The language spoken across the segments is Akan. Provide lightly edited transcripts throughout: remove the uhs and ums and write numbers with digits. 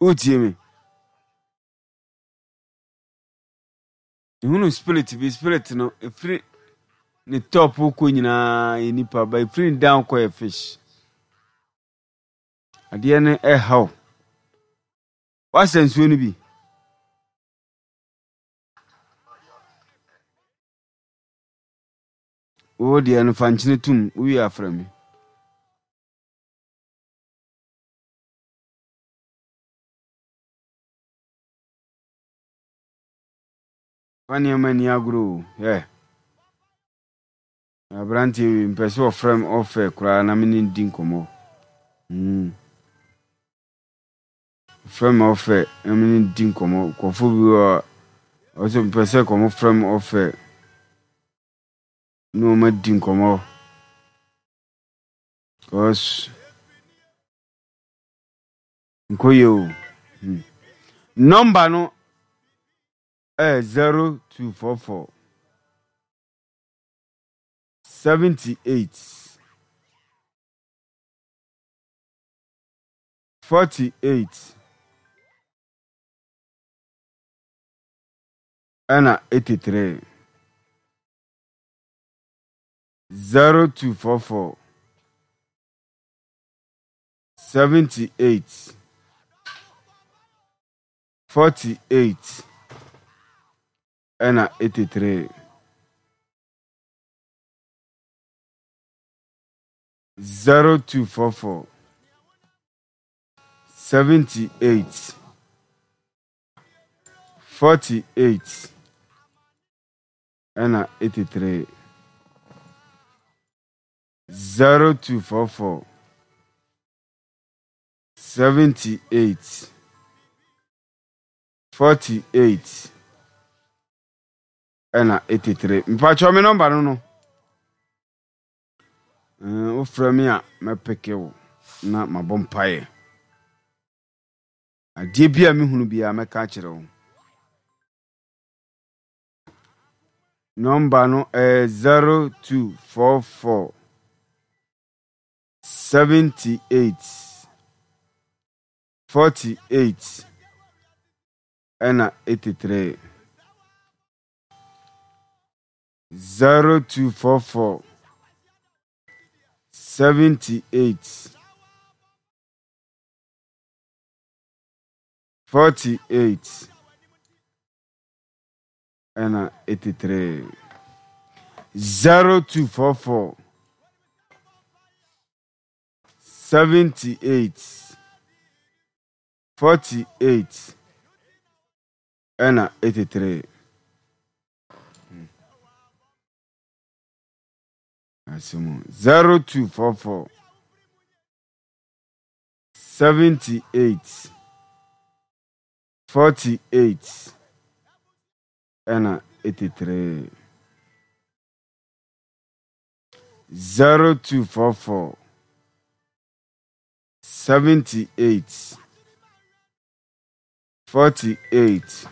Wotie me? Mehunu spirit bi, spirit no ɛfiri ne top kɔ nyinaa yɛ nipa, ba ɛfiri ne down kɔ yɛ fish. Adeɛ no ɛha wo. Woasɛ nsuo no bi? Wo deɛ no fa nkyene tom, wowie afrɛ me. Fa nneɛma nni agorɔ o, hwɛ. Aberanteɛ wei mpɛ sɛ ɔfrɛ me ɔfɛ koraa na me ne no di nkɔmmɔ. Mm. Ɔfrɛ me ɔfɛ na me ne no di nkɔmmɔ. Nkurɔfoɔ bi wɔ a ɔsɛ mpɛ sɛ kɔmɔ frɛ me ɔfɛ ne wɔn adi nkɔmmɔ. Cause nkɔ yie o. Hmm. Nɔmba no ɛyɛ 0244 78 48 ɛna 83 0244 78 48 ɛna 83 0244 78 48 ɛna 83 0244 78 48 ɛna 83 mpakyɛw me nɔmba no no wofrɛ me a mɛpeke wo na mabɔ mpaeɛ adeɛ bi a mehunu biara mɛka akyerɛ wo nɔmba no ɛyɛ 0244 78 48 ɛna 83 0244 78 48 ɛna 83 0244 78 48 ɛna 83. Asɛm 0244 78 48 ɛna 83. 0244 78 48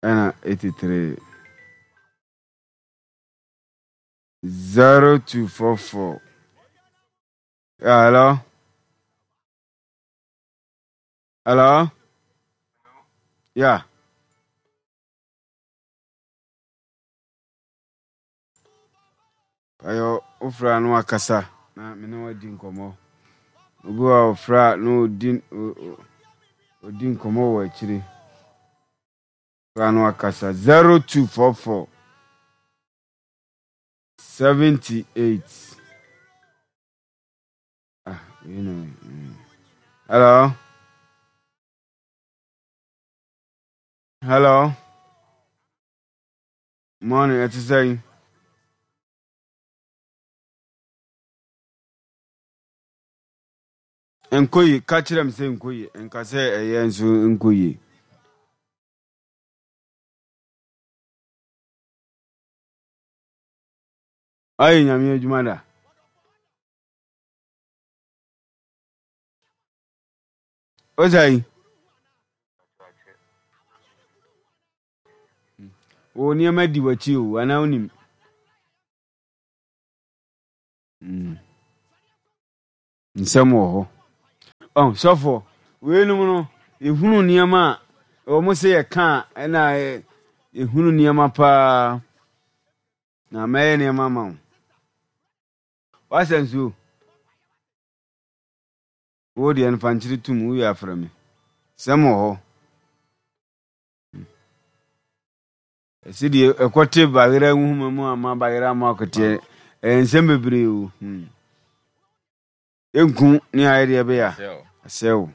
ɛna 83. 0244. Yeah, hello? Hello? Yeah. Ayɔ wofrɛ a na wakasa na me ne wadi nkɔmmɔ. Obi wɔ a ɔfrɛ a na ɔdi ɔdi nkɔmmɔ wɔ akyire. Frɛ a na wakasa 0244 78 ah, you know. Hello? Hello? Morning, ɛte sɛn? Nkɔ yie, ka kyerɛ me sɛ nkɔ yie, nka sɛ ɛyɛ nso nkɔ yie. Ayɛ nyame adwuma da. O sɛn? Wo nneɛma di w'akyi o, anaa wonim? Mm. Nsɛm wɔ hɔ. Ɔn, sɔfoɔ, weinom no, yɛhunu nneɛma a wɔn sɛ yɛka a, ɛna yɛhunu nneɛma paa. Na mɛyɛ nneɛma ama wo. Wasa nsuo? Wo deɛ no fa nkyere tum, wowie afrɛ me. Sɛm wɔ hɔ. Ɛsɛ deɛ ɛkɔte bayerɛ nhoma mu ama bayerɛ ama akɔteɛ. Ɛyɛ nsɛm bebree o. Hmm. Ɛnku ne ayɛ deɛ ɛbɛyɛ a. Asɛ o.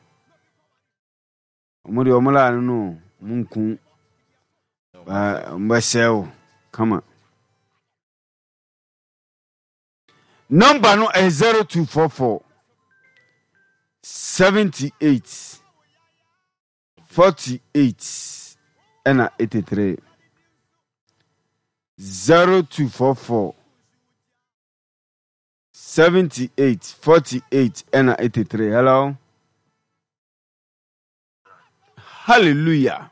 Wɔn deɛ wɔn laa no no wɔn nku. Wɔn bɛsɛ o. Kama. Number no ɛyɛ 0244 78 48 ɛna 83 0244 78 48 ɛna 83 hello hallelujah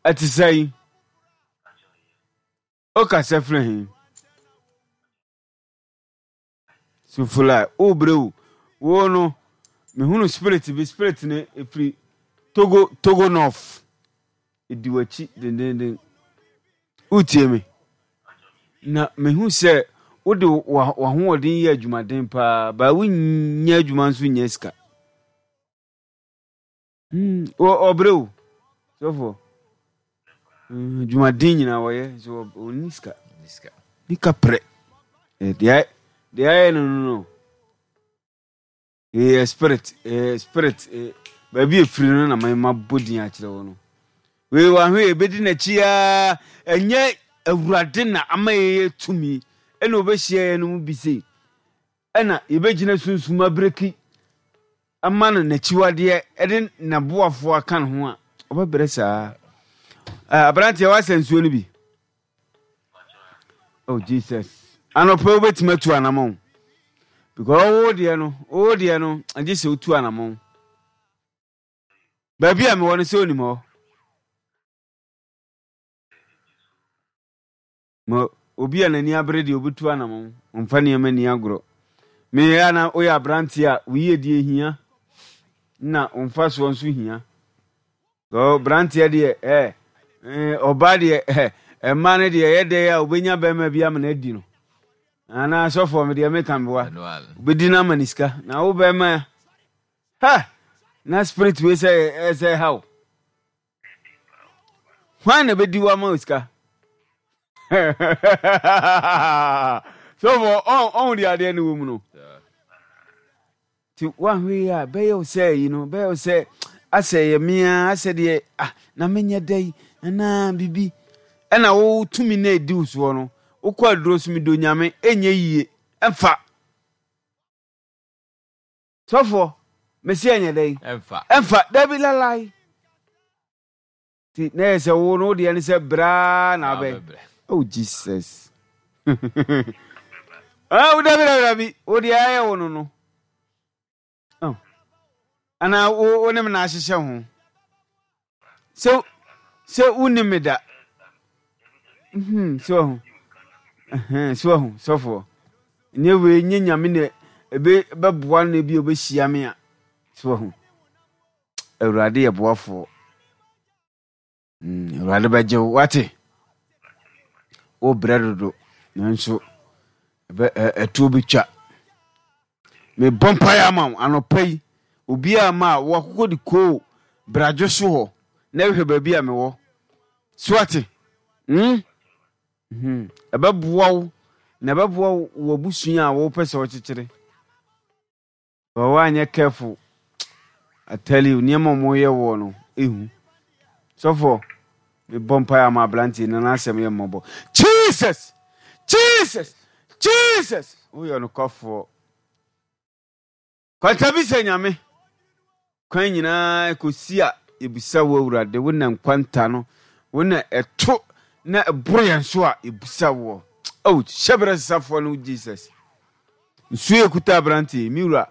ɛte sɛ yi wokasa firi he Sufula wobrɛ wo wo no mehunu spirit bi spirit no ɛfiri Togo Togo North ɛdi w'akyi dendenden wotie me na mehu sɛ wode w'ahoɔden yɛ adwumaden paa baa wonnya adwuma nso nnya sika Hmm, ɔbrɛ o sɔfoɔ adwumaden nyinaa wɔyɛ nso ɔnni sika ne kaprɛ deɛ deɛ ayɛ no no no ɛyɛ spirit ɛyɛ spirit baabi efiri no na ma bɔ din akyerɛ wɔ no wei wahwe ebedi n'akyi aa ɛnyɛ awurade na ama yɛyɛ tumi ɛna ɔbɛhyia yɛn no mu bi sei ɛna yɛbɛgyina sunsum abiriki ama no n'akyiwadeɛ de n'aboafoɔ aka ne ho a, ɔbɛbrɛ saa. Aberanteɛ woasɛ nsuo no bi? Oh Jesus. Anɔpɛ wobɛtumi atu anamɔn. Because wo deɛ no, wo deɛ no, agye sɛ wotu anamɔn. Baabi a mewɔ no sɛ onim hɔ. Ma obi a n'ani abere deɛ ɔbɛtu anamɔn, ɔmfa nneɛma nni agorɔ. Meyɛ a na woyɛ aberanteɛ a, wo yiedie hia, na wo mfasoɔ nso hia. Aberanteɛ deɛ, ɛ, ɔbaa deɛ, ɛ, mmaa no deɛ, ɛyɛ dɛ a wobɛnya bɛrima bi ama no adi no. Anaa sɔfoɔ, me deɛ meka meboa. Wobɛdi no ama ne sika. Na wo bɛrima, ha, na spirit wei sɛ ɛsɛ ha wo. Hwan na bɛdi wo ama wo sika? Sɔfo ɔho deɛ adeɛ no wɔ mu no. Nti woahwɛ yi a bɛyɛ wo sɛ yi no bɛyɛ wo sɛ asɛ yɛ mea asɛ deɛ ah na menyɛ dɛ yi anaa biribi ɛna wo tumi na ɛdi wo soɔ no wokɔ aduro so medɔ nyame ɛnyɛ yie ɛmfa Sɔfoɔ, mese ɛnyɛ dɛn? Ɛmfa. Ɛmfa, dabi lalai. Ti na yɛ sɛ wo no wo deɛ ne sɛ braa na abɛ. Oh Jesus. Ah, wo dabi dabi dabi, wo deɛ ayɛ wo no no. Oh. Ana wo wo ne me na ahyehyɛ ho. Sɛ sɛ wonni me da. Hmm, so ahu. Ɛhɛn, so ahu, sɔfoɔ. Nyɛ wei, nyɛ nyame na ebe bɛboa no na ebi obehyia me a. So ahu. Awurade yɛ boafoɔ. Mm, Awurade bɛgye wo, wate? Wobrɛ dodo, nanso ɛtoɔ bɛtwa. Mebɔ mpaeɛ ama wo anɔpa yi, obiara ma a wakokɔ de koo bradwo so hɔ na hwɛ baabi a mewɔ. So wate? Mm? Hmm. Ɛbɛboa wo na ɛbɛboa wo abusua a wopɛ sɛ wɔkyekyere. But woanyɛ careful I tell you nneɛma a wɔyɛ woɔ no ehu. Sɔfoɔ mebɔ mpaeɛ ama aberanteɛ na n'asɛm yɛ mmɔbɔ. Jesus! Jesus! Jesus! Woyɛ ɔnokwafoɔ. Kwantabisa Nyame kwan nyinaa kɔsi a yɛbisa wo Awurade wo na nkwanta no wo na ɛto na ɛboro yɛn so a yɛbisa woɔ. Oh, hyɛbrɛ sesafoɔ no Jesus. Nsuo yɛ kuta aberanteɛ yi, me wura,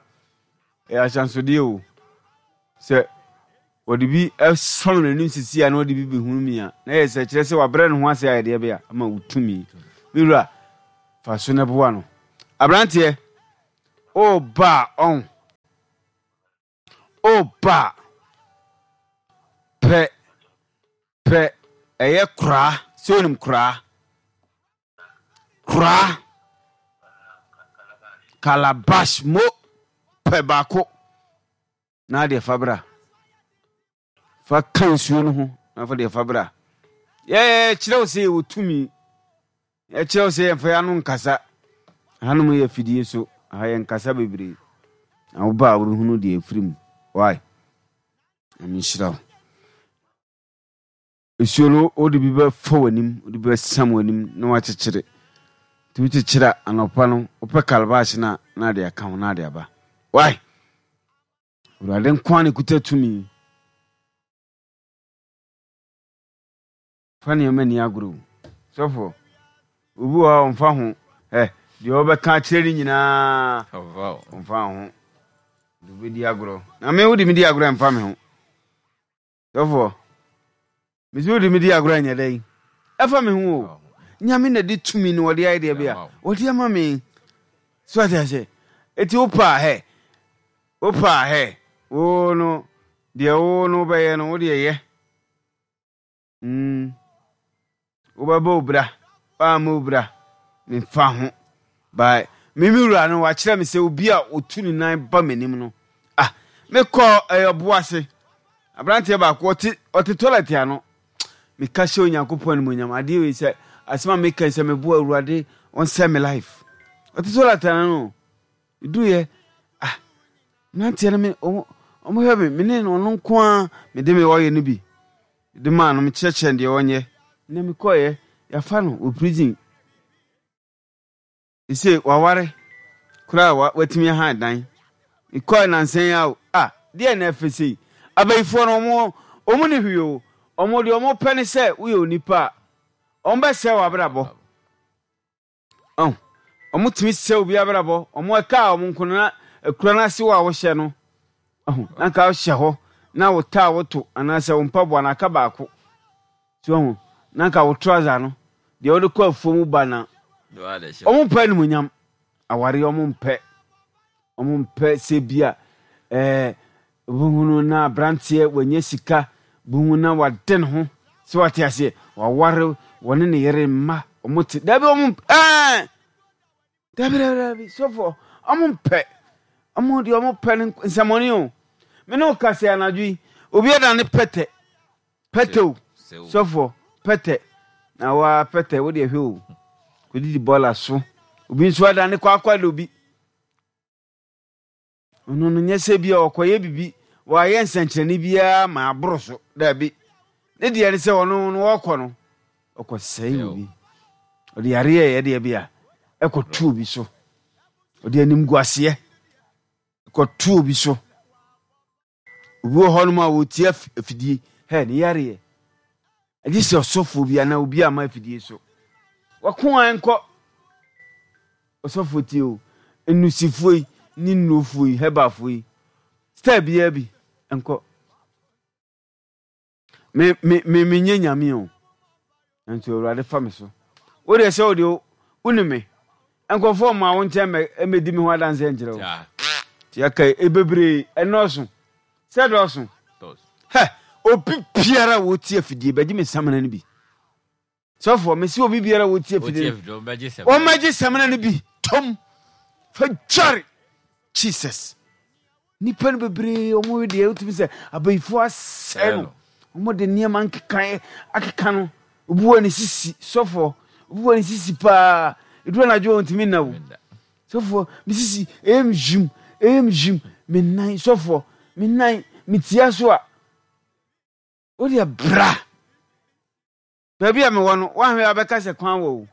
ɛyɛ ahyɛnsodeɛ o. Sɛ wɔde bi sɔn n'anim sisi a na wɔde bi bɛhunu mi a, na yɛ sɛ kyerɛ sɛ wabrɛ ne ho ase ayɛ deɛ bɛyɛ ama wo tumi. Me wura, fa so na boa no. Aberanteɛ, o ba a ɔn. Oba pɛ pɛ ɛyɛ koraa sɛ onim koraa koraa calabash mo pɛ baako na adeɛ fa bra fa ka nsuo no ho na fa deɛ fa bra yɛkyerɛ wo sɛ yɛwɔ tumi yɛkyerɛ wo sɛ yɛmfa yɛn ano nkasa hanom yɛ afidie so ha yɛnkasa bebree na woba a wobɛhunu deɛ ɛfiri mu why Nyame nhyira wo. Nsuo no wode bi bɛfa w'anim, wode bi bɛsam w'anim na wakyekyere. Nti wokyekyere a anɔpa no wopɛ calabash no a na ade aka ho na ade aba. Why? Awurade nko ara na ɛkuta tumi. Fa nneɛma nni agorɔ o. Sɔfoɔ, obi wɔ hɔ a ɔmfa ho. Ɛ, deɛ ɔbɛka akyerɛ no nyinaa, ɔmfa ho. De wobɛdi agorɔ. Na me wode me di agorɔ ɛmfa me ho. Sɔfoɔ, mesi wode me di agorɔ ɛnyɛ dɛn? Ɛfa me ho o. Nyame na de tumi no ɔde ayɛ deɛ bia. Ɔde ama me. So ate aseɛ? Eti wo paa hɛ. Wo paa hɛ. Wo no, deɛ wo no wobɛyɛ no, wo deɛ yɛ. Mm, wobɛbɔ wo bra, woammɔ wo bra, memfa ho. By me me wura no wakyerɛ me sɛ obi a ɔtu ne nan ba m'anim no, ah, mekɔ ɛyɛ ɔbo ase. Aberanteɛ baako ɔte ɔte toilet ano. Meka hyɛ Onyankopɔn animuonyam adeɛ wei sɛ asɛm a meka sɛ meboa Awurade ɔnsɛ me life. Ɔte toilet ano no. Meduruiɛ, ah, mmeranteɛ no me, wɔn, wɔhwɛ me, me ne ɔno nko ara, mede me ɔyɛ no bi de maa no, mekyerɛkyerɛ no deɛ ɔnyɛ. Na mekɔeɛ, yɛafa no wɔ prison. Sese waware koraa wa, watumi ahan dan. Mekɔe nansa yi ara o, ah, deɛ na ɛfɛ sei. Abayifoɔ no, wɔn, wɔn ni hwee o. Wɔn deɛ wɔn pɛ ne sɛ woyɛ onipa a, wɔn bɛsɛe w'abrabɔ. Ɔn, wɔn tumi sɛ obi abrabɔ, wɔn ɛka a wɔn nko no na akura no ase wɔ a wɔhyɛ no, ɔho, na nka wohyɛ hɔ na wo taa woto anaasɛ wo mpaboa no aka baako. So ɔho, na nka wo trouser no, deɛ wode kɔ afuo mu ba na wɔn mpɛ animuonyam, awareɛ wɔn mpɛ, wɔn mpɛ sɛ bi a ɛɛ Wobɛhunu na abranteɛ wanya sika, wobɛhu na wade ne ho, sɛ wate aseɛ, waware, wɔne ne yere mma, wɔn te, dabi wɔn ɛɛ, dabi dabi dabi, sɔfoɔ, wɔn mpɛ, wɔn deɛ wɔn pɛ no nsɛmɔne o, me ne wo kasa anadwo yi, obi ada ne pɛtɛ, pɛtɛ o, sɔfoɔ, pɛtɛ, na waa pɛtɛ, wo deɛ hwɛ o, kɔdidi bɔɔla so, obi nso ada ne kwakwa da obi. Ɔno no, nyɛ sɛ ebia ɔkɔyɛ biribi, wayɛ nsɛnkyerɛnne biara ma aboro so. Dabi. Ne deɛ ne sɛ ɔno no ɔkɔ no, ɔkɔsɛe obi. Ɔde yareɛ ɛyɛ deɛ bi a, ɛkɔto obi so. Ɔde animguaseɛ ɛkɔto obi so. Obi wɔ hɔnom a ɔretie afidie, hɛ, ne yareɛ. Agye sɛ ɔsɔfoɔ bi anaa obi ama afidie so. Wako a nkɔ. Ɔsɔfoɔ tie o, nnusifoɔ yi ne nnurofoɔ yi, herbalfoɔ yi, style biara bi nkɔ. Me me me menyɛ nyame o. Nanso Awurade fa me so. Wo deɛ sɛ wo deɛ wonim me. Nkurɔfoɔ mma wo nkyɛn mɛ mmɛdi me ho adanseɛ nkyerɛ wo. Nti aka yi bebree ɛnɔɔso. Sɛ dɔɔso. Hɛ obi biara a wɔtie afidie bɛgye me samina no bi. Sɔfoɔ mesi obi biara a wɔtie afidie no wɔmmɛgye samina no bi tom fa dware Jesus. Nnipa no bebree wɔn deɛ wotumi sɛ abayifoɔ asɛe no wɔn de nneɛma nkeka akeka no obi wɔ ne sisi sɔfoɔ obi wɔ ne sisi paa eduru anadwo wɔn ntumi nna o sɔfoɔ me sisi ɛyɛ me hyim ɛyɛ me hyim me nan sɔfoɔ me nan me tia so a o deɛ bra. Baabi a mewɔ no, woanhwɛ a wobɛka sɛ kwan wɔ o.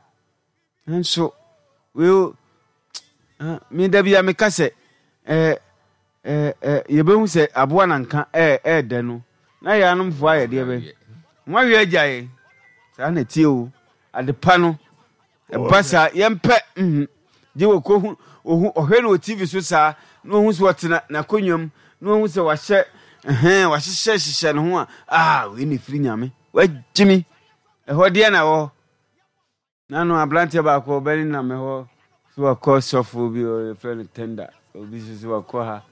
Nanso, wei o, me da bi a meka sɛ, ɛɛ, ɛɛ, yɛbɛhu sɛ aboa na nka ɛɛ, ɛɛdɛ no, na yɛn anomfoɔ ayɛ deɛ bɛn? Wɔawe agya yɛn. Saa na ɛteɛ o. Adepa no, ɛba saa, yɛmpɛ, mhm. Gye wɔkɔhu, ohu, ɔhwɛ no wɔ TV so saa, na ohu sɛ ɔte n'akonnwa mu, na ohu sɛ wahyɛ, ɛhɛn, wahyehyɛ hyehyɛ ne ho a, ah, wei na ɛfiri Nyame. Wagye me. Ɛhɔ deɛ na ɛwɔ hɔ. Nano aberanteɛ baako ɔbɛne nam ɛhɔ so wakɔ sɔfoɔ bi yɛfrɛ no tenda obi nso so wakɔ ha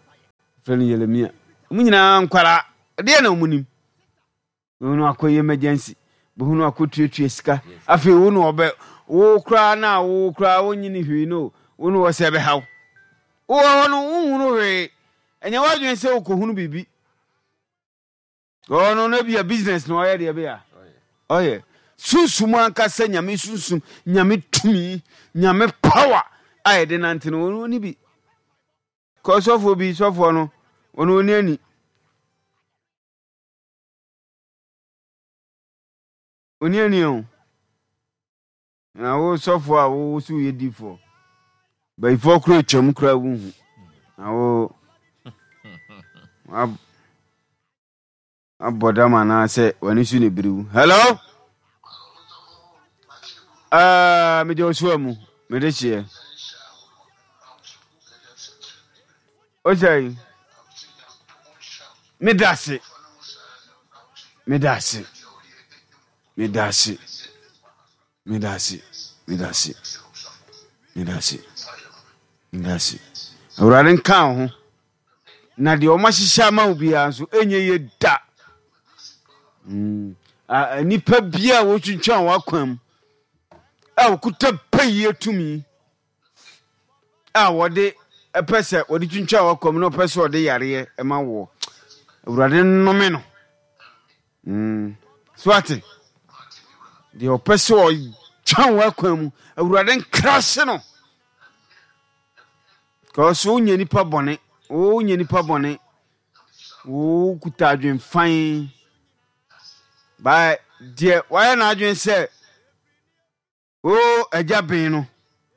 yɛfrɛ no Yeremia. Wɔn nyinaa nkwadaa, ɛdeɛ na wɔn nim. Bɛhu no akɔyɛ emergency, bɛhu no akɔtuatua sika. Afei wo na ɔbɛ, wo koraa na wo koraa wonyini hwee no, wo na ɔsɛ bɛha wo. Wowɔ hɔ no, wonhunu hwee. Ɛnyɛ w'adwene sɛ wokɔhunu biribi. Ɔno no bia business na ɔyɛ deɛ bia ɔyɛ. Sunsum ankasa, nyame sunsum, nyame tumi, nyame power a yɛde nante no, ɔno ɔni bi. Kɔ sɔfoɔ bi, sɔfoɔ no, ɔno ɔni ani. Ɔni ani o. Na wo sɔfoɔ a wo so woyɛ difoɔ, bayifoɔ koro atwam koraa wonhu. Na wo abɔ dam anaasɛ w'ani so ne biriw. Hello? Uh, mede ɔsoa mu, mede hyeɛ. Ɔsɛe. Meda ase. Meda ase. Meda ase. Meda ase. Meda ase. Meda ase. Meda ase. Awurade nka wo ho. Na deɛ wɔn ahyehyɛ ama wo biara nso ɛnyɛ yie da. Mm. Nnipa biara a wɔtwintwan wɔn akwan mu a wɔkuta pɛyie tumi a wɔde pɛ sɛ wɔde twintwan w'akwan mu na wɔpɛ sɛ wɔde yareɛ ma woɔ. Awurade nnome no. Mm. So ate? Deɛ ɔpɛ sɛ ɔtwan w'akwan mu, Awurade nkrase no. Kɔɔ so wonyɛ nipa bɔne, wonyɛ nipa bɔne, wokuta adwenfan. Ba deɛ wayɛ n'adwene sɛ O agya ben no,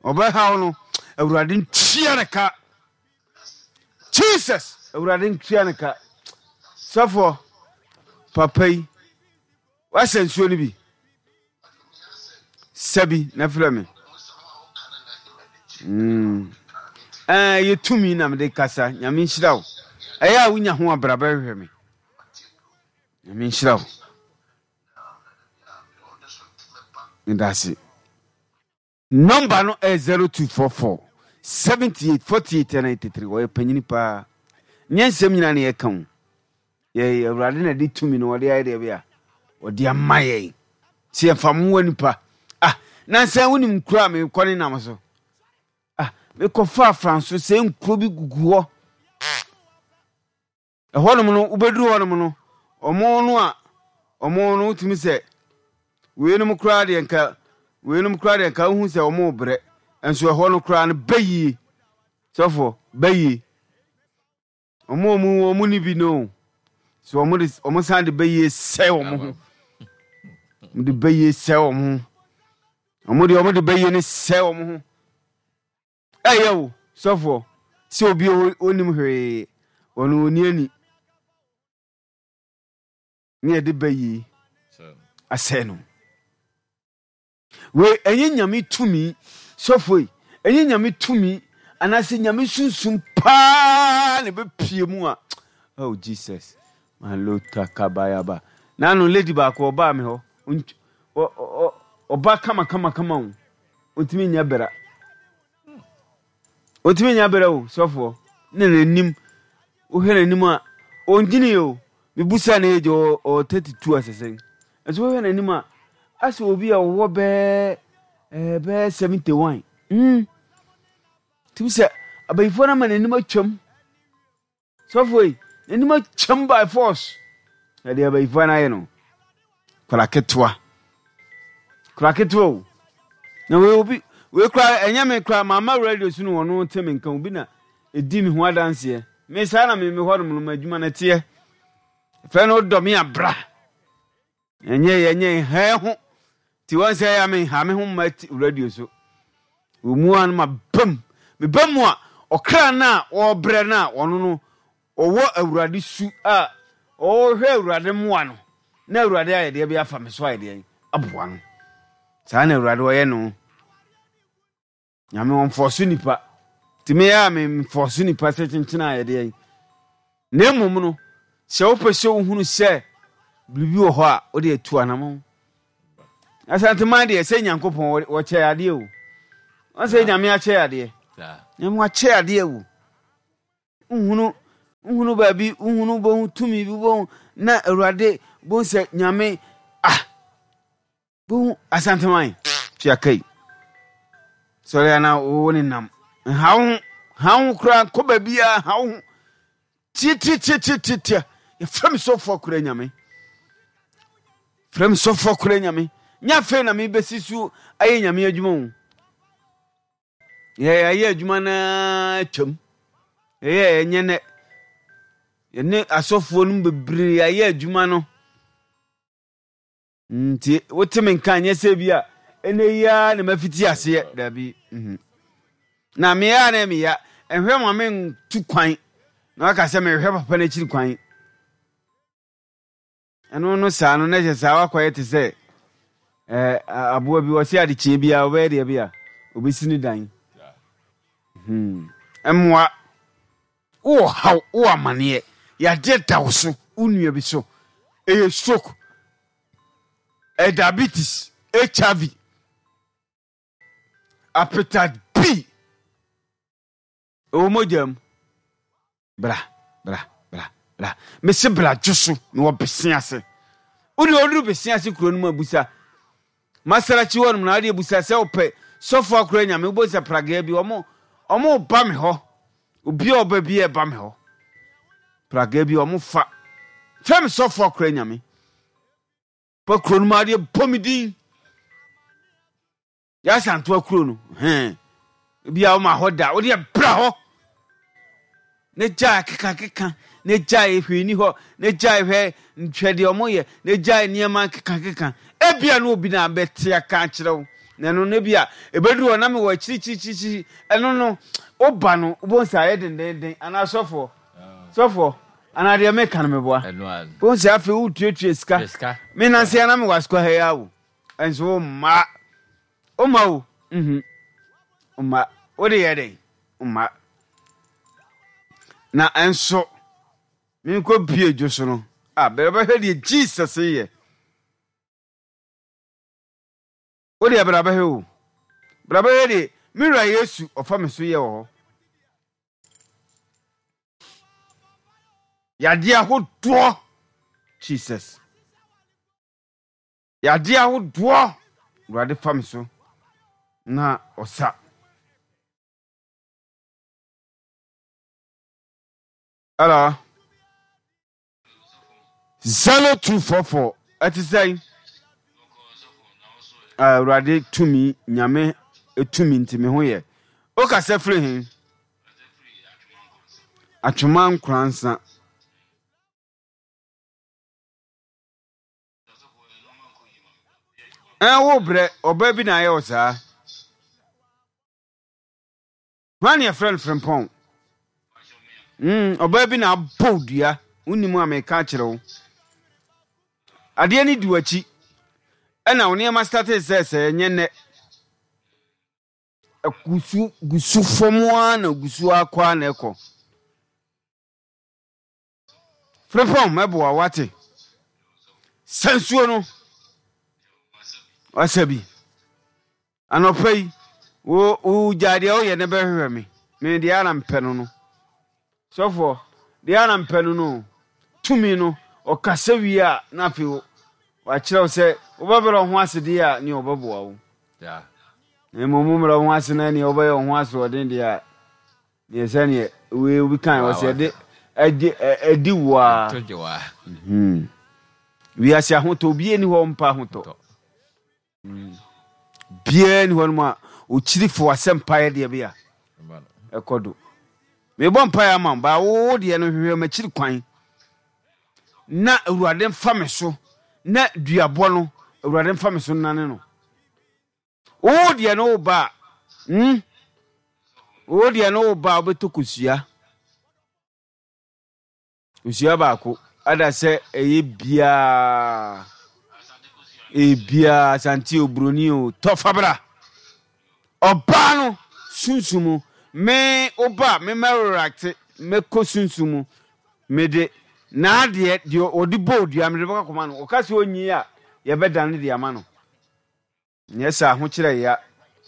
ɔbɛhaw no, Awurade ntua ne ka. Jesus, Awurade ntua ne ka. Sɔfoɔ, papa yi, wasɛ nsuo no bi. Sɛ bi na frɛ me. Mm. Eh, yɛ tumi na mede kasa. Nyame nhyira wo. Ɛyɛ a wonya ho abra bɛhwehwɛ me. Nyame nhyira wo. Medase. Number no ɛyɛ 0244 78 48 93. Ɔyɛ panyini paa. Nyɛ nsɛm nyinaa na yɛka o. Yɛ Awurade na de tumi no ɔde ayɛ deɛ bia ɔde ama yɛn. Sɛ yɛmfa mmoa nipa. Ah, nansa wonim nkuro a mekɔ ne nam so. Ah, mekɔfa afranso sɛ nkuro bi gugu hɔ. Ɛhɔnom no, wobɛduru hɔnom no, wɔn no a, wɔn no wotumi sɛ weinom koraa deɛ nka weinom koraa deɛ nka wohu sɛ wɔn rebrɛ nso ɛhɔ no koraa no bɛyie sɔfoɔ bɛyie wɔn a wɔn wɔn ni bi no so wɔn de wɔn san de bɛyie sɛ wɔn ho wɔn de bɛyie sɛ wɔn ho wɔn de wɔn de bɛyie no sɛ wɔn ho. Ɛyɛ o, sɔfoɔ, sɛ obi a ɔnnim hwee, ɔno ɔnni ani, ne yɛde ba yie asɛe no. Wei ɛnyɛ nyame tumi, sɔfoɔ yi, ɛnyɛ nyame tumi anaasɛ nyame sunsum paa na ɛbɛpie mu a. Oh Jesus, malota kabayaba. Nano lady baako ɔbaa me hɔ, ɔba kama kama kama o. Ɔntumi nyɛ bra. Ɔntumi nyɛ bra o, sɔfoɔ. Ne n'anim, wohwɛ n'anim a, ɔngyini o. Mebusa ne age, ɔwɔ 32 asɛsɛn. Nso wohwɛ n'anim a, asɛ obi a ɔwɔ bɛɛ ɛɛ bɛɛ 71. Mm. Tumi sɛ abayifoɔ no ama n'anim atwam. Sɔfo yi, n'anim akyɛm by force. Ɛde abayifoɔ no ayɛ no. Kora ketewa. Kora ketewa o. Na wei obi, wei kora ɛnyɛ me kora mama radio so no wɔn te me nka obi na edi me ho adanseɛ. Me saa na me me hɔ nom no m'adwuma no teɛ. Fɛ no dɔ me abra. Ɛnyɛ yɛ nyɛ nhɛɛ ho ti wɔn sɛ ya me nha me ho mma ti radio so. Wɔ mu a no ma bam. Me ba mu a ɔkra no a ɔrebrɛ no a ɔno no ɔwɔ awurade su a ɔrehwɛ awurade mmoa no na awurade ayɛ deɛ bi afa me so ayɛ deɛ aboa no. Saa na awurade ɔyɛ no. Nyame ɔnfɔɔso nipa. Nti me a me nfɔɔso nipa sɛ kyenkyen a yɛde yɛn. Na mmom no, sɛ wopɛ sɛ wohunu sɛ biribi wɔ hɔ a, wode atu anamɔn. Asanteman deɛ sɛ Nyankopɔn wɔkyɛ adeɛ o. Wɔn sɛ Nyame akyɛ adeɛ. Nyame wakyɛ adeɛ o. Nhunu. Wohunu baabi, wohunu wobɛhu tumi bi, wobɛhu na Awurade bohu sɛ Nyame ah bohu Asanteman tua kai. Sɔre ana wo ne nam. Nha wo ho, ha wo ho koraa nkɔ baabiara, ha wo ho. Tiatiatiatiatia. Yɛfrɛ me sɔfo akora Nyame. Frɛ me sɔfo akora Nyame. Nyɛ afei na mebɛsi so ayɛ Nyame adwuma o. Yɛayɛ adwuma no ara atwam. Yɛyɛ ɛnyɛ nnɛ. Yɛne asɔfoɔ no bebree ayɛ adwuma no. Nti wote me nka nyɛ sɛ bi a ɛnɛ yi ara na mafiti aseɛ. Dabi. Mhm. Na meyɛ a na meya. Ɛhwɛ ma mentu kwan na waka sɛ mehwɛ papa no akyiri kwan. Ɛno no saa no na kyerɛ saa wakɔyɛ te sɛ ɛɛ aboa bi wɔsi adekyeɛ biara ɔbɛyɛ deɛ bi a obesi ne dan. Hmm. Mmoa wowɔ haw wowɔ amaneɛ yadeɛ da wo so wo nua bi so ɛyɛ stroke ɛyɛ diabetes HIV appetite B Ɛwɔ mogya mu. Bra, bra, bra, bra. Mese bra dwo so na wɔ bese ase. Wode ɔduru bese ase kuro no mu abusa. Masarachi hɔ nom na wode abusa sɛ wopɛ sɔfo akora nyame wobɔ sɛ pragea bi ɔmo ɔmo ba me hɔ. Obi a ɔba bi ɛba me hɔ. Pragea bi ɔmo fa. Fɛm sɔfo akora nyame. Pa kuro no mu adeɛ bɔ me din. Yɛasantoa kuro no hɛn ebi a woma hɔ da wode bra hɔ ne gyae kekakeka ne gyae hwee ni hɔ ne gyae hwɛ nhwɛ deɛ ɔmo yɛ ne gyae nneɛma kekakeka ebia no obi na abɛte aka akyerɛ wo na ɛno no ebia ebeduru hɔ na mewɔ akyirikyirikyirikyiri ɛno no woba no wobɛhu sɛ ayɛ dendenden anaa sɔfoɔ sɔfoɔ anaa deɛ meka no meboa wobɛhu sɛ afei wotuatua sika menanse ana mewɔ asukɔ ha yi awo Nso wo mma. Wo mma o, mhm. Wo mma. Wo de yɛ dɛn? Wo mma. Na nso, menkɔ bie dwo so no, a bɛrɛ bɛhwɛ deɛ Jesus yɛ. Wo deɛ bra bɛhwɛ o. Bra bɛhwɛ deɛ me wura Yesu ɔfa me so yɛ wɔ hɔ. Yadeɛ ahodoɔ. Jesus. Yadeɛ ahodoɔ Awurade fa me so na ɔsa. Hello. 0244 ɛte sɛn? Awurade tumi nyame tumi nti me ho yɛ. Wokasa firi he? Atwoma Nkoransa. Ɛn wo brɛ ɔbaa bi na ayɛ wo saa. Hwan ne yɛfrɛ no frempɔn? Mm, ɔbaa bi na abɔ wo dua. Wonim a meka akyerɛ wo. Adeɛ no di w'akyi. Ɛna wo nneɛma startee sɛ sɛ ɛnyɛ nnɛ. Ɛgusu gusu fam ara na gusu akɔ ara na ɛkɔ. Frimpong mɛboa wo wate. Sa nsuo no. Wasa bi. Anɔpa yi, wo wo gyaa deɛ woyɛ ne bɛhwehwɛ me. Me deɛ ana mpɛ no no. Sɔfoɔ, deɛ ana mpɛ no no. Tumi no, ɔkasa wie a na afei wakyerɛ wo sɛ wobɛbrɛ wo ho ase deɛ a ne ɔbɛboa wo. Na mmom wommrɛ wo ho ase na neɛ wobɛyɛ wo ho asoɔden deɛ a Neɛ sɛneɛ wei obi kan wɔ sɛ ɛde ɛde ɛdi waa. Ɛtɔ gye waa. Mhm. Wiase ahotɔ obi ni hɔ mpa ahotɔ. Biara ni hɔ nom a okyiri fo asɛmpa yɛ deɛ bi a ɛkɔ do. Mebɔ mpaeɛ ama wo baa wo deɛ no hwehwɛ m'akyiri kwan na Awurade mfa me so na duabɔ no Awurade mfa me so nnane no. Wo deɛ no wo ba a, hmm? Wo deɛ no wo ba a wobɛtɔ kosua. Kosua baako ada sɛ ɛyɛ biaa. Ɛyɛ biaa asante o buroni o tɔ fa bra. Ɔbaa no sunsum mu me wo ba me mɛreacte mɛkɔ sunsum mu mede n'adeɛ deɛ ɔde bɔ odua mede bɛkɔ akɔma no ɔka sɛ ɔnyi a yɛbɛdane de ama no. Nyɛ saa, ahokyerɛ ya.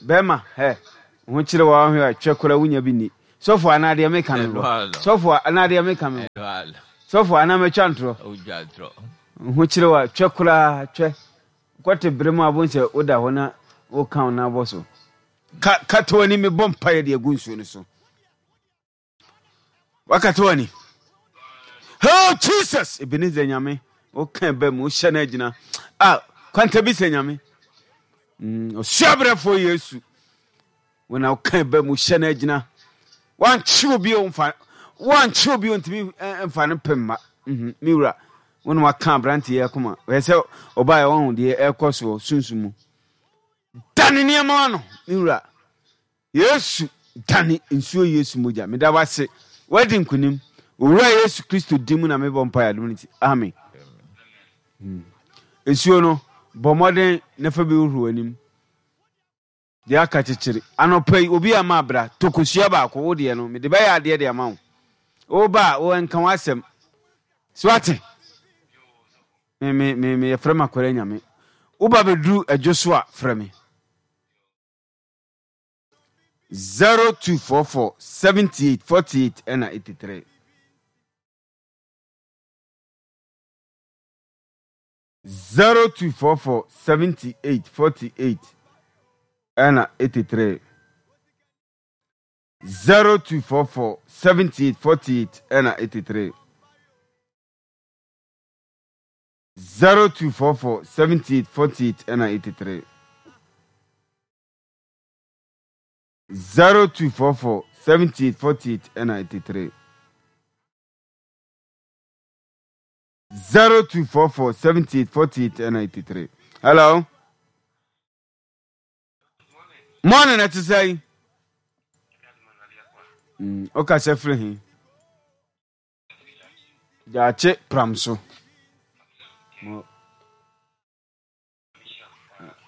Bɛɛma, hɛ, ho kyerɛ wo ara hwɛ a, twɛ koraa wonya bi nni. Sɔfo anaa deɛ meka me bɔ. Sɔfo anaa deɛ meka me bɔ. Sɔfo anaa matwa ntorɔ. Ho kyerɛ wa twɛ koraa twɛ. Kɔte bere mu abon sɛ woda hɔ na woka wo nan bɔ so. Ka kata w'ani mebɔ mpaeɛ de agu nsuo no so. Wakata w'ani. Oh Jesus! Ebenezer Nyame, woka ɛba mu, wohyɛ no agyina. Ah, kwanta bi sɛ Nyame. Mm, ɔsua brɛfoɔ Yesu. Wo na woka ɛba mu, wohyɛ no agyina. Wankye obi o mfa, wankye obi o ntumi eh, mfa no pem ma. Mm, me wura, wo na waka aberante yi akoma. Ɔyɛ sɛ ɔbaa ɛwɔ ho deɛ ɛrekɔ soɔ sunsun mu. Dane nneɛma ano, me wura. Yesu dane nsuo Yesu mogya meda wase wadi nkunim Owura Yesu Kristo din mu na mebɔ mpaeɛ adom no nti amen hmm. Nsuo no bɔ mmɔden na fa bi hohoro w'anim deɛ aka kyekyere anɔpa yi obi ama abra tɔ kosua baako wo deɛ no mede bɛyɛ adeɛ de ama wo woba a wo nka w'asɛm so ate me me me me yɛfrɛ me akwara nyame woba bɛduru adwo so a frɛ me 0244 78 48 ɛna 83. 0244 78 48 ɛna 83. 0244 78 48 ɛna 83. 0244 78 48 ɛna 83. 0244 78 48 ɛna 83. 0244 78 48 ɛna 83. Hello. Morning, ɛte sɛ yi. Ɔkasa firi he? Gyaakye pram so.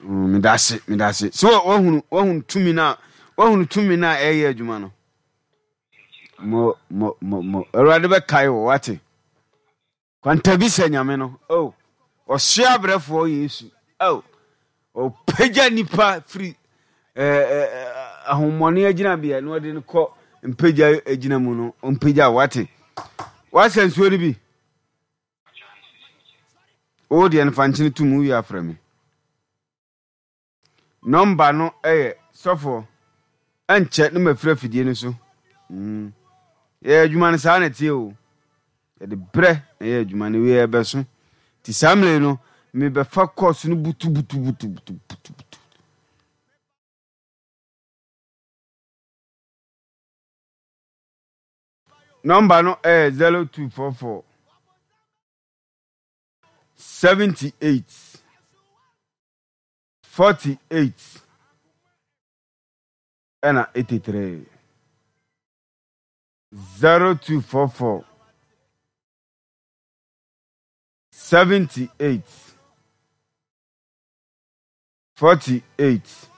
Medase, medase. So wahunu, wahunu tumi na, wahunu tumi na ɛyɛ adwuma no. Mo, mo, mo, mo. Awurade bɛkae wo, wate. Kwantabi sɛ Nyame no, oh. Ɔsoa abrɛfoɔ Yesu, oh. Ɔpagya nipa firi ahommɔne agyinabea na ɔde no kɔ mpagya agyina mu no, ɔmpagya wate. Wasɛ nsuo no bi. Wo deɛ no fa nkyene to mu wowie a frɛ me. Nɔmba no yɛ sɔfoɔ ɛnkyɛ na mafiri afidie no so. Mm. Yɛyɛ adwuma no saa na ɛteɛ o. Yɛde berɛ na ɛyɛ adwuma no wei ɛbɛso. Nti saa mmerɛ yi no mebɛfa kɔɔso no butubutubutubutubutu. Nɔmba no yɛ 0244 78 48 ɛna 83. 0244 78 48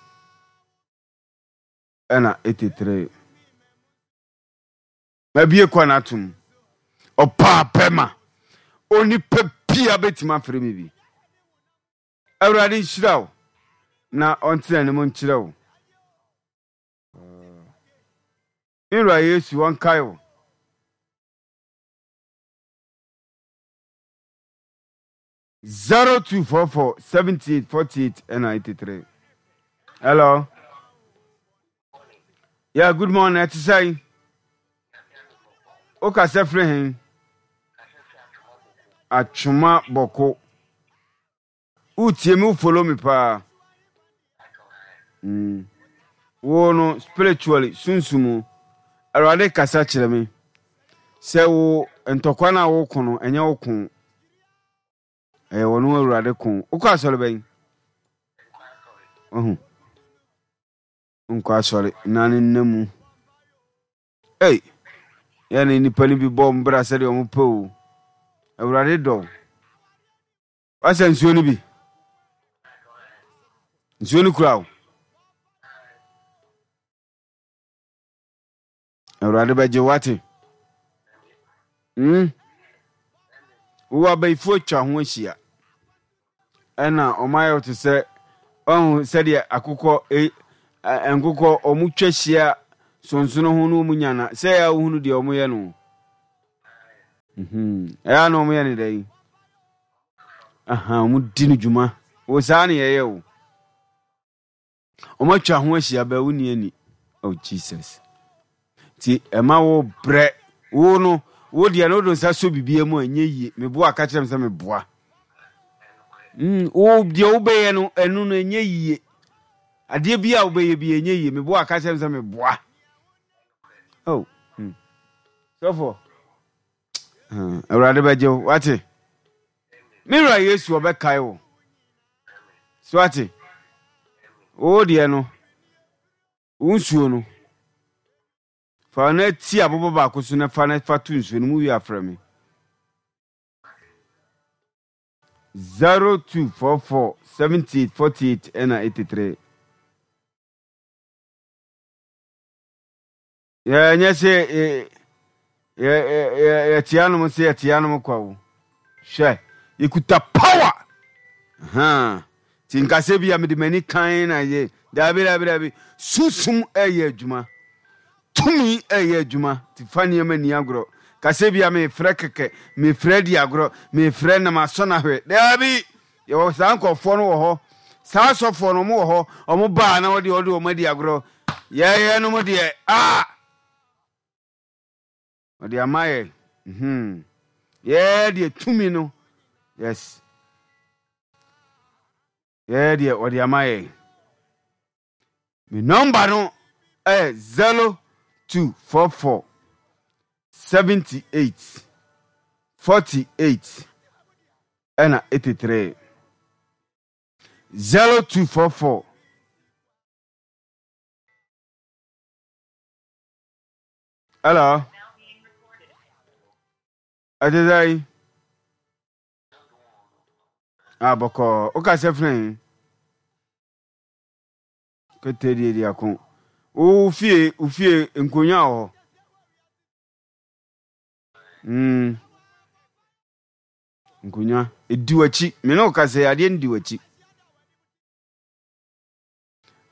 ɛna 83. Mabue kwan atom. Ɔpaa bɛma. Onipa bia bɛtumi afrɛ me bi. Awurade nhyira wo na ɔntena anim nkyerɛ wo. Me wura Yesu ɔnkae wo. 0244 78 48 ɛna 83. Hello. Yeah, good morning. Ɛte sɛn? Wokasa firi he? Atwoma Bɔko. Wotie me, wo follow me paa. Mm. Wo no spiritually sunsumu. Awurade kasa kyerɛ me sɛ wo ntɔkwa no a woko no ɛnyɛ wo ko. Ɛyɛ wɔn Awurade ko. Wokɔ asɔre bɛn? Wahu. Nkɔ asɔre na ne nna mu. Ei, yɛ ne nnipa no bi bɔ mbra sɛdeɛ wɔn pɛ o. Awurade dɔ wo. Wasa nsuo no bi? Nsuo no kura wo? Awurade bɛgye wo ate. Hmm? Wowɔ abayifoɔ atwa ho ahyia. Ɛna wɔn ayɛ wo te sɛ ɔho sɛdeɛ akokɔ e, nkokɔ wɔn twa hyia. sonsono ho na wɔn nya na sɛ ɛyɛ a wohunu deɛ wɔyɛ no. Mhm. Ɛyɛ a na wɔyɛ no dɛn? Aha, wɔdi no dwuma. Wo saa na yɛyɛ o. Wɔatwa ho ahyia bɛ wo ni ani. Oh Jesus. Nti ɛma wo brɛ wo no wo deɛ no wode nsa sɔ biribiara mu a ɛnyɛ yie. Meboa ka kyerɛ me sɛ meboa. Mm, wo deɛ wobɛyɛ no ɛno no ɛnyɛ yie. Adeɛ bi a wobɛyɛ bi ɛnyɛ yie. Meboa ka kyerɛ me sɛ meboa. Oh, mm. Sɔfo, Awurade bɛgye wo, wate? Me wura Yesu ɔbɛkae wo. So wate? Wo deɛ no, wo nsuo no, fa no ti aboba baako so na fa no fa to nsuo no mu wie afrɛ me. 0244 78 48 ɛna 83. Yɛnyɛ sɛ yɛte anom sɛ yɛte anom kwa o. Hwɛ, yɛkuta power. Nti nkasɛ bi a mede m'ani kan na yɛ daabi daabi daabi. Sunsum ɛyɛ adwuma. Tumi ɛyɛ adwuma. Nti fa nneɛma ni agorɔ. Kasɛ bi a mefrɛ kɛkɛ, mefrɛ di agorɔ, mefrɛ na masɔ no ahwɛ. Daabi! Yɛwɔ saa nkurɔfoɔ no wɔ hɔ. Saa asɔfoɔ no, wɔn wɔ hɔ. Wɔn baa na wɔde wɔde wɔn adi agorɔ. Yɛyɛ nom deɛ, ah! Ɔde ama yɛ. Hmm. Yɛɛ deɛ tumi no. Yes. Yɛɛ deɛ ɔde ama yɛ. Me nɔmba no yɛ 0244 78 48 ɛna 83. 0244. Hello. Ɛte sɛ yi. Ah, bɔkɔɔ. Wokasa firi he? Kete deɛ di ako. Wo fie, wo fie nkonnwa wɔ hɔ. Mm. Nkonnwa. Edi w'akyi. Me ne wo kasa yi, adeɛ no di w'akyi.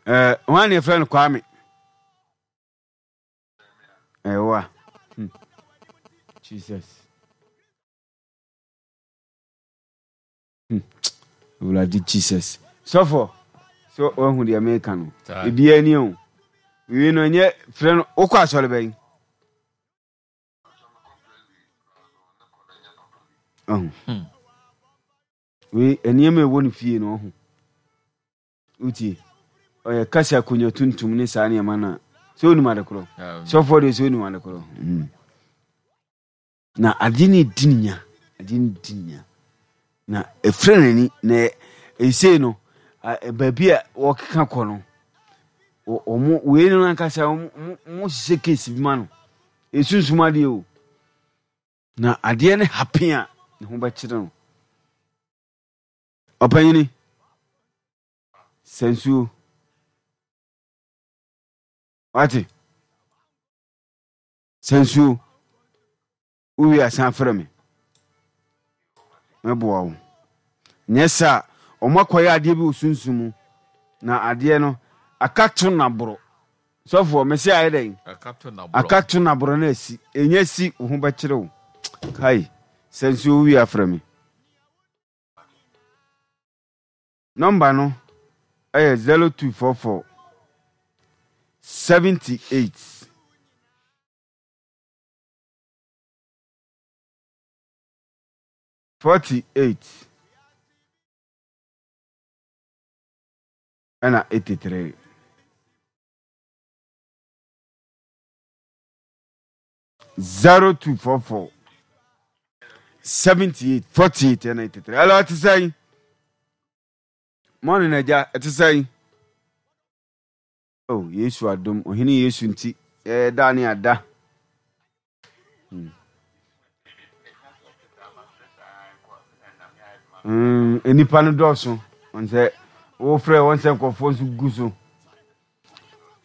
Eh, hwan ne yɛfrɛ no Kwame? Ɛwa. Hmm. Jesus. Hmm. Awurade Jesus. Sɔfo, so wahu deɛ meka no. Ebiara ni o. Wei no ɛnyɛ frɛ no wokɔ asɔre bɛn? Ɔho. Hmm. Wei nneɛma ɛwɔ ne fie no ɔho. Wotie? Ɔyɛ kasa akonnwa tuntum ne saa nneɛma no a. Sɛ onim ade korɔ. Sɔfoɔ deɛ sɛ onim ade korɔ. Hmm. Na adeɛ no redi ne nya, adeɛ no redi ne nya. Na ɛfira n'ani, na ɛsei no, baabi a wɔkeka kɔ no, wɔn wei no ankasa wɔn hyehyɛ case bi ma no. Esunsum adeɛ o. Na adeɛ no happen a, ne ho bɛkyerɛ no. Ɔpanyini, sɛ nsuo. Wate? Sɛ nsuo, wowie a san frɛ me. Mɛboa wo. Nyɛ saa a, wɔakɔyɛ adeɛ bi wɔ sunsum mu, na adeɛ no, akato na boro. Sɔfoɔ, mese ayɛ dɛn? Akato na boro na asi. Ɛnya si, wo ho bɛkyere wo. Kai, sɛ nsuo wowie a frɛ me. Nɔmba no yɛ 0244 78. 48 ɛna 83. 0244 78 48 ɛna 83. Hello, ɛte sɛn? Morning agya, ɛte sɛn? Oh, Yesu adom, Ɔhene Yesu nti, ɛɛ da ne ada. Hmm. Mm, nnipa no dɔɔso. Wɔn sɛ wofrɛ wɔn sɛ nkurɔfoɔ nso gu so.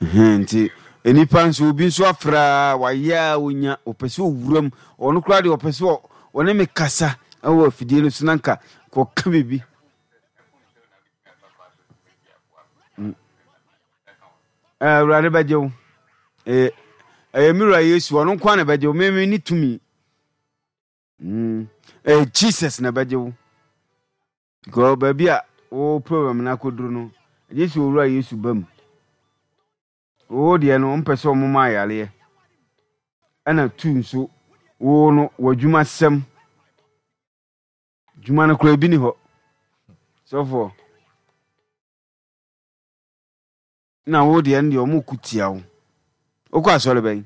Nti nnipa nso obi nso afrɛ a wayɛ a onya ɔpɛ sɛ owura mu ɔno koraa deɛ ɔpɛ sɛ ɔne me kasa wɔ afidie no so na nka kɔka biribi. Awurade bɛgye wo. Ɛyɛ ɛyɛ me wura Yesu, ɔno nko ara na ɛbɛgye wo. Me me ne tumi. Mm. Ɛyɛ Jesus na ɛbɛgye wo. Because baabi a wo problem no akɔduru no, gye sɛ owura Yesu ba mu. Wo deɛ no, wɔmpɛ sɛ wɔma ayareɛ. Ɛna tu nso, wo no, w'adwumasɛm. Dwuma no koraa ebi ni hɔ. Sɔfoɔ. Na wo deɛ no deɛ wɔn ko tia wo. Wokɔ asɔre bɛn?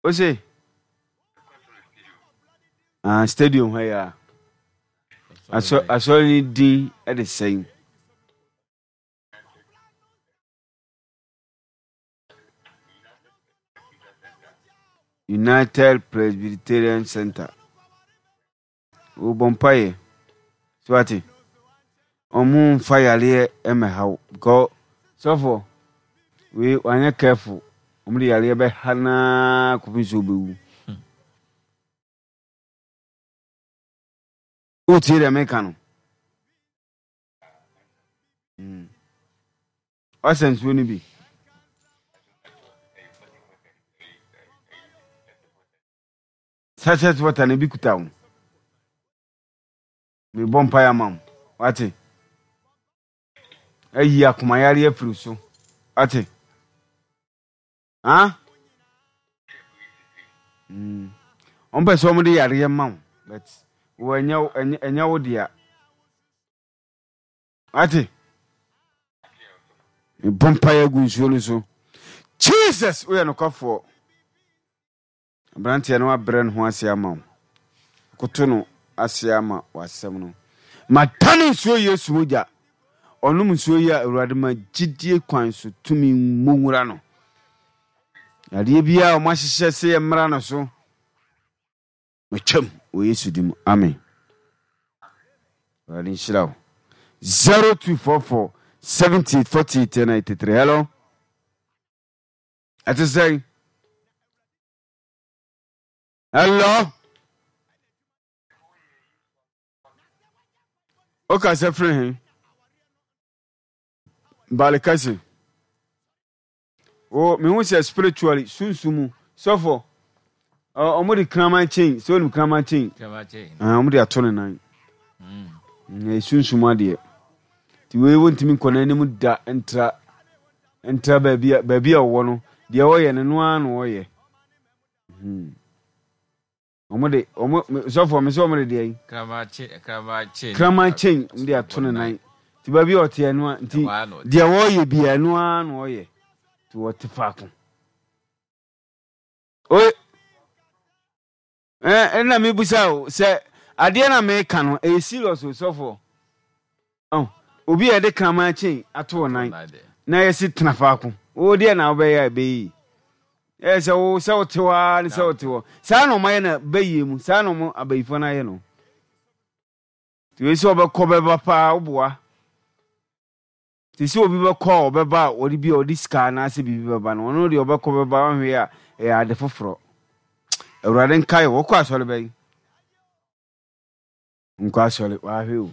Ose? Ah, stadium ha yi a. Asɔ asɔre no din de sɛn? United Presbyterian Center. Wɔbɔ mpaeɛ. So wate? Ɔmo nfa yareɛ mmɛha wo because sɔfoɔ wei wanyɛ careful ɔmo de yareɛ bɛha naa kɔpem sɛ ɔbɛwu. Wotie deɛ meka no? Mm. Wasa nsuo no bi. Sachet water no bi kuta wo. Mebɔ mpaeɛ ama wo. Wate? Ayi akomayare afiri so. Wate? Ha? Mm. Wɔn pɛ sɛ wɔn de yareɛ ma wo, but wɔ ɛnyɛ ɛnyɛ wo dea. Wate? Mebɔ mpaeɛ agu nsuo no so. Jesus, woyɛ nokwafoɔ. Aberanteɛ no abrɛ ne ho ase ama wo. Koto no ase ama w'asɛm no. Madane nsuo Yesu mogya. Ɔnom nsuo yi a Awurade ma gyidie kwan so tumi mmɔ nwura no. Yadeɛ biara a wɔahyehyɛ sɛ yɛmmra no so. Matwam wɔ Yesu din mu. Amen. Awurade nhyira wo. 0244 78 48 83. Hello. Ɛte sɛn? Hello. Wokasa firi he? Balikasi. O mehu sɛ spiritually sunsun mu sɔfo ɔmo de kraman chain sɛ onim kraman chain ɔmo de ato ne nan mm. Sunsun mu adeɛ nti wei wontumi nkɔ n'anim da ntra ntra baabi a baabi a ɔwɔ no deɛ ɔyɛ no no ara na ɔyɛ. Wɔn de wɔn sɔfo wɔn sɛ wɔn de deɛ yi. Kraman chain wɔn de ato ne nan. Ti baabi a ɔte ɛno a nti deɛ wɔyɛ bi ɛno ara na ɔyɛ. Ti wɔte faako. Oye ɛɛ ɛna mi busa o sɛ adeɛ na mi ka no ɛyɛ serious o sɔfo. Oh, obi a yɛde kraman chain ato wo nan na yɛsi tena faako. Wo deɛ na wobɛyɛ a ɛbɛyɛ yi. Ɛyɛ sɛ wo sɛ wote hɔ ara ne sɛ wote hɔ. Saa na wɔayɛ no bɛyie mu. Saa na wɔn abayifoɔ no ayɛ no. Nti wei sɛ ɔbɛkɔ bɛba paa woboa. Te sɛ obi bɛkɔ a ɔbɛba a ɔde bi a ɔde sika anaasɛ biribi bɛba no, ɔno deɛ ɔbɛkɔ bɛba ɔnhwɛ a ɛyɛ ade foforɔ. Awurade nkae wo. Wokɔ asɔre bɛn? Nkɔ asɔre wahwɛ o.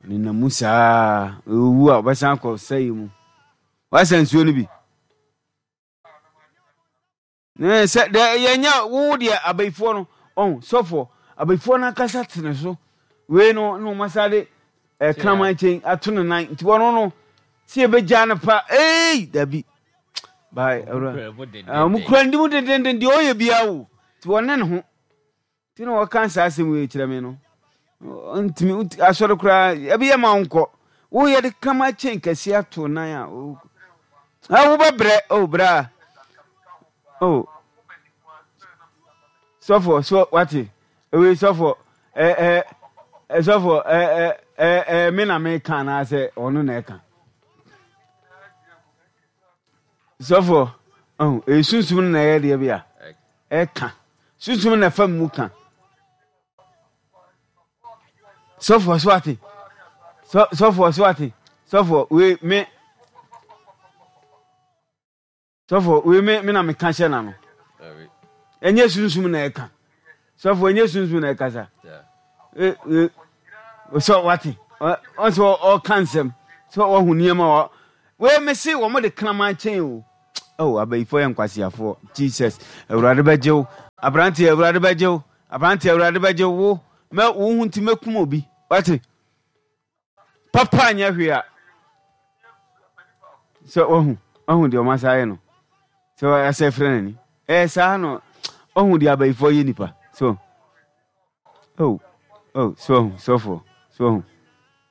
Ɔnenam mu saa owu a ɔbɛsan akɔ sɛe mu. Wasa nsuo no bi. Ne sɛ dɛ yɛnyɛ wo deɛ abayifoɔ no ɔn sɔfoɔ abayifoɔ no ankasa te ne so wei no na wɔn asa de ɛkraman kyɛn ato ne nan nti wɔn no sɛ yɛbɛgya no pa ei dabi bye awura wɔn kura ne mu dendenden deɛ ɔyɛ biara o nti wɔne ne ho Nti na wɔka saa asɛm wei kyerɛ me no. Ntumi asɔre koraa ebi yɛ ma wonkɔ. Woyɛ de kama kyɛn kɛse ato nan a. Ah, wobɛbrɛ oh bra. Oh. Sɔfo so wate. Ewe sɔfo eh eh sɔfo eh eh eh me na meka anaasɛ ɔno na ɛka. Sɔfo, oh, ɛyɛ sunsum no na ɛyɛ deɛ bi a ɛka. Sunsum na ɛfa mu ka. Sɔfo, so ate? Sɔfo, so ate? Sɔfo, wei me. Sɔfo, wei me me na meka hyɛ n'ano. Ɛnyɛ sunsum na ɛka. Sɔfo, ɛnyɛ sunsum na ɛkasa. Sɛ wate, ɔsɛ ɔka nsɛm, sɛ wahu nneɛma. Wei me se wɔn de kraman kyɛn o. Oh, abayifoɔ yɛ nkwaseafoɔ. Jesus, Awurade bɛgye wo. Aberanteɛ, Awurade bɛgye wo. Aberanteɛ, Awurade bɛgye wo. Wo, mɛ, wo ho nti mɛkum obi. Wate? Papa nyɛ hwee a. Sɛ wahu, wahu deɛ wɔn asa ayɛ no. Sɛ asɛ frɛ n'ani. Ɛyɛ saa no, wahu deɛ abayifoɔ yɛ nipa. So, Oh, oh, so wahu, sɔfoɔ, so wahu,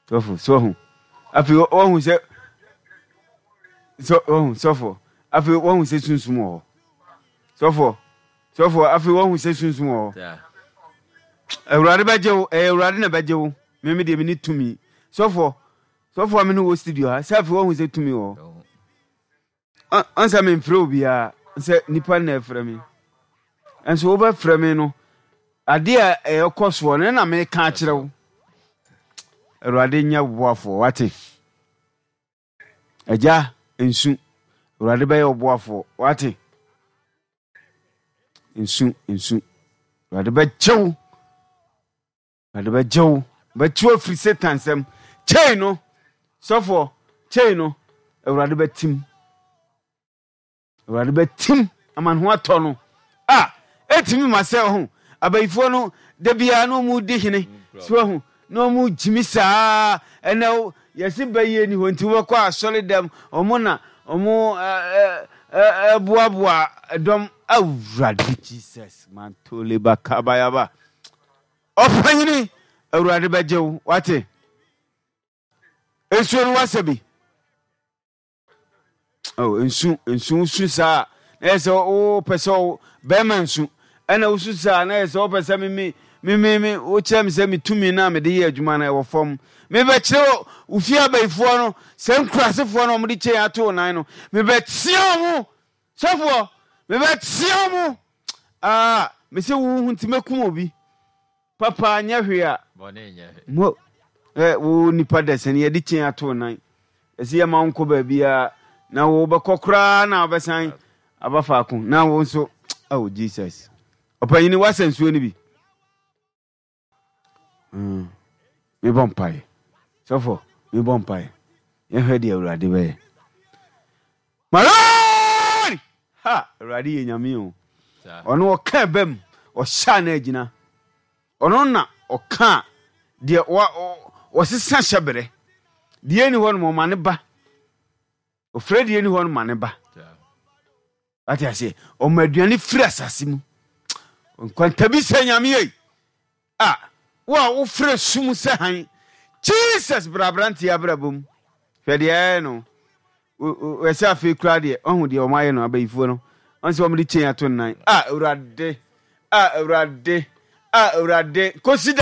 sɔfo, so wahu. Afei wahu sɛ, so wahu, sɔfoɔ, afei wahu sɛ sunsum wɔ hɔ. Sɔfoɔ, sɔfoɔ, afei wahu sɛ sunsum wɔ hɔ. Awurade bɛgye wo, ɛyɛ Awurade na bɛgye wo. Meme deɛ mene tumi. Sɔfoɔ, sɔfoɔ a me ne wɔ studio ha, sɛ afei wahu sɛ tumi wɔ hɔ. Ɔn sɛ memfrɛ obiara sɛ nipa na ɛfrɛ me. Nso wobɛfrɛ me no, adeɛ a ɛkɔ soɔ no na meka akyerɛ wo. Awurade nyɛ wo boafoɔ, wate? Agya, nsu. Awurade bɛyɛ wo boafoɔ, wate? Nsu, nsu. Awurade bɛgye wo. Awurade bɛgye wo, bɛkye wo afiri Satan nsam. Kyei no, sɔfoɔ, kyei no, Awurade bɛtim. Awurade bɛtim ama ne ho atɔ no. A, ɛtumi ma sɛ ɔho, abayifoɔ no, da biara na ɔmu di hene, so ahu, na ɔmu gyimi saa, ɛnɛ yɛse bɛyie ni hɔ nti wobɛkɔ asɔre dɛm, ɔmo na ɔmo ɛboaboa dɔm. Awurade Jesus, mantole bakabayaba. Ɔpanyini, Awurade bɛgye wo, wate? Nsuo no wasa bi. Oh, nsu, nsu, wosu saa na yɛ sɛ wopɛ sɛ bɛrima nsu, ɛna wosu saa na yɛ sɛ wopɛ sɛ me me me me me wokyerɛ me sɛ me tumi no a mede yɛ adwuma no ɛwɔ fam. Mebɛkyerɛ wo fie abayifoɔ no, sɛ nkurasefoɔ no wɔde kyɛn ato wo nan no, mebɛtea wɔn. Sɔfoɔ, mebɛtea mo! Ah, mese wo ho nti mɛkum obi. Papa nyɛ hwee a. Bɔne nyɛ hwee. Mo, eh, wo nipa dasani, yɛde kyen ato wo nan. Ɛsɛ yɛma wo nkɔ baabiara, na wo bɛkɔ koraa na wobɛsan aba faako. Na wo nso, oh Jesus. Ɔpanyini, woasa nsuo no bi? Mm, mebɔ mpaeɛ. Sɔfo, mebɔ mpaeɛ. Yɛhwɛ deɛ Awurade bɛyɛ. Malori! Ha! Awurade yɛ nyame o. Ɔno ɔka ɛbɛ mu, ɔhyɛ a na agyina. Ɔno na ɔka deɛ ɔsesa hyɛberɛ. Deɛ ɛni hɔ no ma ɔma ne ba. Ɔfrɛ deɛ ɛni hɔ no ma ne ba. Wate aseɛ? Ɔma aduane firi asase mu. Nkwantabi sɛ Nyame ei. A, wo a wofrɛ sum sɛ hann. Jesus bra aberanteɛ abrabɔ mu. Hwɛ deɛ ɛyɛ no. Ɛsɛ afei koraa deɛ, ɔhu deɛ wɔn ayɛ no abayifoɔ no. Ɔn sɛ wɔn de chain ato nnan. A, Awurade, a, Awurade, a, Awurade. Kɔsi da.